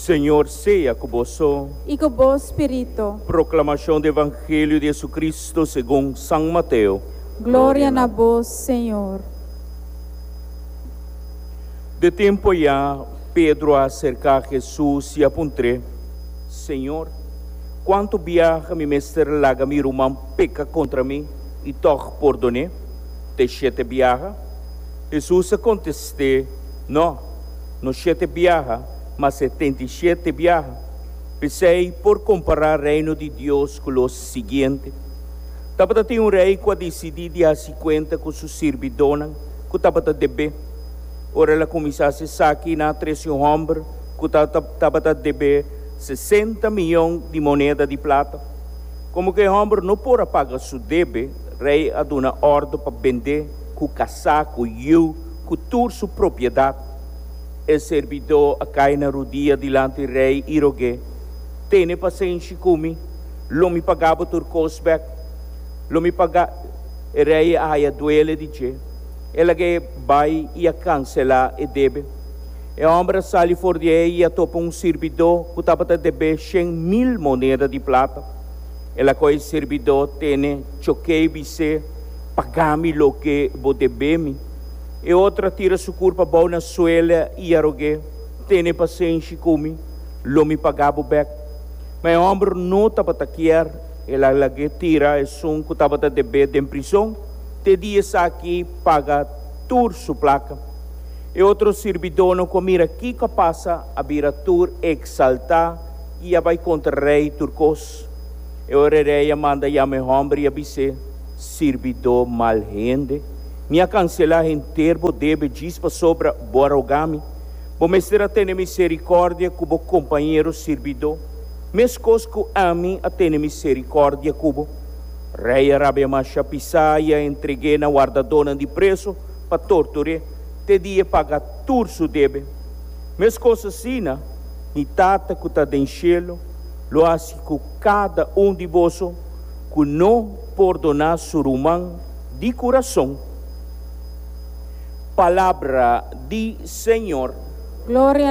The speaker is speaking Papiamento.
Señor sea ku boso. I ku bo spiritu. Proklamashon di Evangelio di Jesucristo segun San Mateo. Gloria na bo, Señor. De tempu ayá, Pedro a aserká Hesus i a puntr'é, Señor, kuantu biaha mi mester laga mi ruman peka kontra mi i tòg pordon'é? Te shete biaha? Hesus a kontest'é, Nò, no shete biaha, ma 77 biaha. P'esei por kompará Reino di Dios ku lo siguiente, Tabata tin un rei ku a disidí di hasi kuenta ku su sirbidónan ku tabata deb'é. Ora el a kuminsá hasi esaki, nan a trese un hòmber ku tabata deb'é 60 miyon di moneda di plata. Komo ku e hòmber no por a paga su debe, rei a duna òrdu pa bend'é ku kasá, ku yu, ku tur su propiedat. E sirbidó a kai na rudia dilanti rei i rog'é, Tene pasenshi ku mi, lo mi paga bo tur kos bèk. Lo mi paga. E rei a haya duele di dje. El lag'é bai i a kanselá e debe. E hòmber a sali for di ei i a topa un sirbidó ku tabata deb'é 100,000 moneda di plata. El a kohe e sirbidó tene, chok'é i bis'é, Paga mi loke bo debé mi. E otro a tira su kurpa abou na suela i a rog'é, Tene pasenshi ku mi, lo mi paga bo bèk. Ma e hòmber no tabata kier, el a lag'é tira esun ku tabata debé den prizon te dia esaki paga tur su plaka. E otro sirbidónan ku a mira kiko a pasa a bira tur eksaltá i a bai kontra rei tur kos. E ora e rei a manda yama e hòmber i a bis'é, Sirbidó mal hende, mi a kanselá henter bo debe djis pasobra bo a rogá mi. Bo mester a tene miserikòrdia ku bo kompañero sirbidó, meskos ku ami a tene miserikòrdia ku bo. Rei a rabia masha pisá i a entreg'é na wardadónan di preso pa tortur'é te dia e paga tur su debe. Meskos asina, mi Tata ku ta den shelu lo hasi ku kada un di boso ku no pordoná su ruman di kurason. Palabra di Señor. Gloria.